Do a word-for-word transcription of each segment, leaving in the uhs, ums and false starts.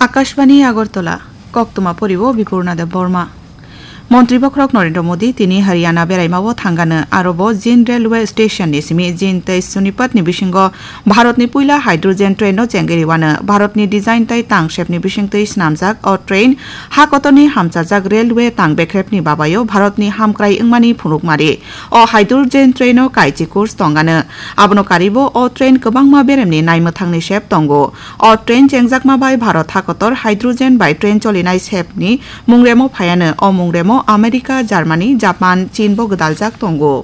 Akashbani Agartala, koktwma poriwo Bipurna Deb Borma. Montri bokhorok Narendra Modi tini Haryana beraimao thangano, arobo Jind railway station ni simi Jind tei Sonipat ni bisingo Bharat ni puila hydrogen train no chengwi rwano. Bharat ni design tei tang sep ni bisingtwi swnamjak o train ha kotor ni hamchajak railway tang bekrep ni babayo Bharat ni hamkrai wngmani phunukmari. O hydrogen train o kaichi course tongano. Abono karibo o train kwbangma beremni naimwthangni sep tongo. O train chengjakma bai Bharat hakotor hydrogen bai train cholinai sepni mungremo phaiano. O mungremo America, Germany, Japan, Chin bo gwdaljak tongo.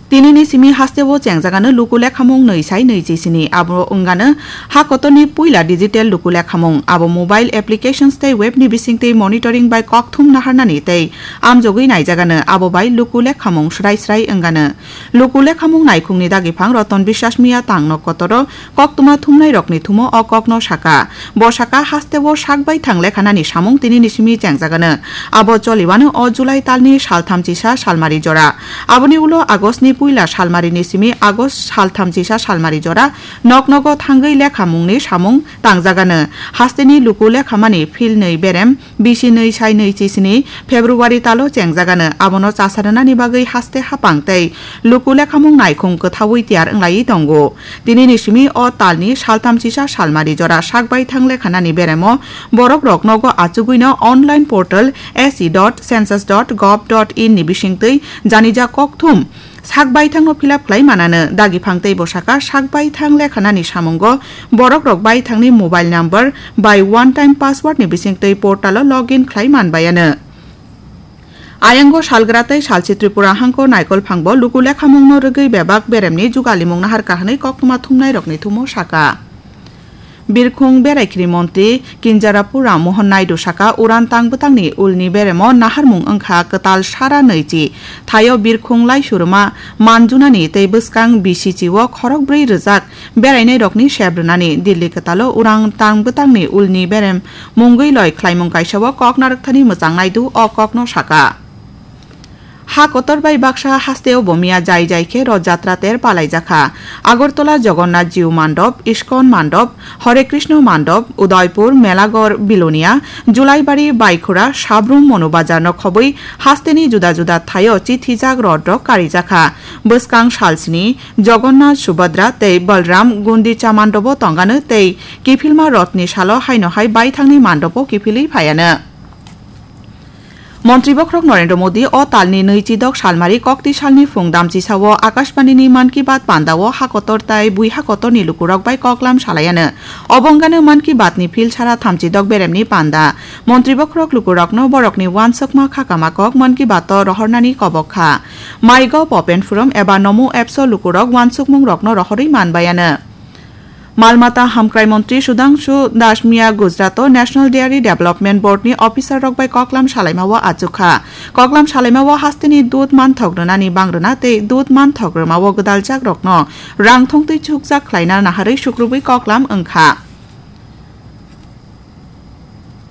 Tinini simi hasteo chengjagano luku lekhamung nwi sai nwi chi sini. Abo wngano ha kotorni puila digital luku lekhamung. Abo mobile applications tei webni bisingtwi monitoring bai kokthum naharnani tei amjogwi naijagano. Abo bai luku lekhamung srai srai wngano. Luku lekhamung naikhungni dagiphang Roton Biswas Miya tangno kotoro koktwma thumnairokni thumo o kokno saka. Bo saka hasteo sak baithang lekhanani samung tinini simi chengjagano. Abo choliwano o July talni saltham chisa salmari jora. Aboni ulo Augustni puila salmarini simi August saltham chisa salmari jora noknogo thangwi lekhamungni samung tangjagano. Hasteni luku lekhamani philnwi berem bisi nwi sai nwi chi sini February talo chengjagano. Abono chasa rwnani bagwi haste hapang tei luku lekhamung naikhung kwthaui tiyar wnglaiwi tongo. Tinini simi o talni saltham chisa salmari jora sak baithang lekhanani beremo borok rok nogo achugwino online portal S E dot census dot gov dot in ni bisingtwi janija kokthum sak baithangno fill up khlai manano. Dagiphang tei bwsaka sak baithang lekhanani samungo borok rok baithangni mobile number bai one time password ni bisingtwi portal o login khlai manbayano. Ayango salgra tei salchi Tripura hangko naikolphangbo luku lekhamungno rwgwi bebak beremni jugalimung nahar kahanwi koktwma thumnairokni thumo saka. Birkhung Beraikhiri Montri Kinjarapur Ram Mohan Naidu saka uran tang bwtangni ulni beremo naharmung wngkha kwtal sara nwichi thaio birkhung laisuruma manjunani tei bwskang bisichi o khorokbrwi rwjak berainairokni sep rwnani. Dilli kwtalo uran tang bwtangni ulni berem mungwi loi khlaimung kaisa o kok narwkthani mwchang naidu o kokno saka. Ha kotor bai baksa hasteo bo miya jai jai khe Roth Jatra ter palaijakha. Agartala Jagannath Jiu Mandop, Iskon Mandop, Hare Krishna Mandop, Udaipur, Melaghor, Bilonia, Julaibari, Baikhura, Sabrum, Monu Bazar no khobwi hasteni juda juda thaio chithijak roth rok karijakha. Bwskang salsni Jagannath, Subhadra tei Balram Gundicha Mandobo tongano tei kiphilma rothni salo haino hai baithangni mandobo kiphilwi phaiano. Montri bokhorok Narendra Modi o talni nwi chidok salmari kokti salni phung damchisao Akashbanini Mann Ki Baat pandao hakotor tai bui hakotorni lukurok bai koklam salaiano. Obo wngano Mann Ki Baatni phil sara thamchidok beremni panda. Montri bokhorok lukurokno borokni uansukma khakama kok Mann Ki Baato rohornani kobok kha. MyGov Open Forum eba Namo Apps o lukurok uansukmungrokno rohorwi manbaiano. Malmata hamkrai montri Sudhangshu Das miya Gujarat o National Dairy Development Board ni officer rok bai koklam salaimao achukha. Koklam salaimao hasteni dud manthok rwnani bangrwna tei dud manthok rwmao gwdaljak rokno rang thongtwi chukjak khlaina naharwi sukrubwi koklam wngkha.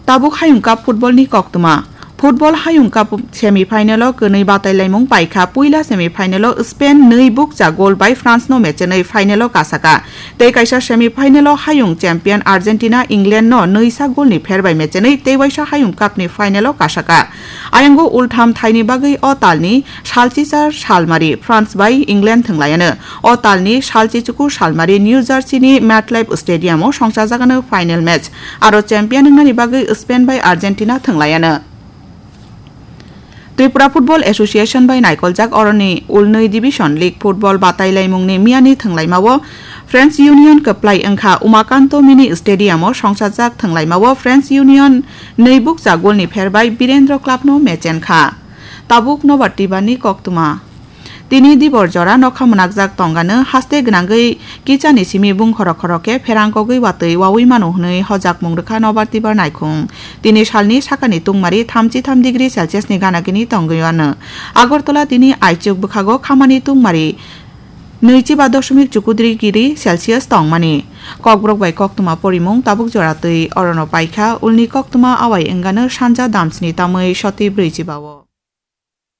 Tabuk Hayung Cup football ni koktwma. Football Hayung Cup semi final o kwnwi batailaimung paikha. Puila semi final o Spain nwi bukcha goal bai France no mechenwi final o kasaka. Tei kaisa semi final o hayung champion Argentina England no nwisa goal ni pher bai mechenwi tei waisa Hayung Cup ni final o kasaka. Ayango ultham thaini bagwi o talni salchichar salmari France bai England thwnglaiano. O talni salchichuku salmari New Jersey ni MetLife Stadium o songchajakano final match. Aro champion wngnani bagwi Spain bai Argentina thwnglaiano. Tripura Football Association bai naikoljak oroni ulnwi Division League football batailaimungni miyani thwnglaimao Friends Union kwplai wngkha. Umakanto Mini Stadium o songchajak thwnglaimao Friends Union nwi bukcha goal ni pher bai Birendra Club no mechen kha. Tabuk Nobar Tibar ni koktwma. Tini dibor jora nokha mwnakjak tongano haste gwnangwi kichani simi bung khorok khorok khe pherang kogwi watwi wawi mano hwnwi hojakmung rwkha Nobar Tibar naikhung. Tini salni sakani tungmari thamchi tham degree Celsius ni gana gini tongwi ano. Agartala tini aichuk bwkhago khamani tungmari nwichi ba dosmik chukudri degree Celsius tongmani. Kokborok bai koktwma porimung tabuk jora twi orono paikha, ulni koktwma awai wngano sanja damsni tamwi soti brwichi bao.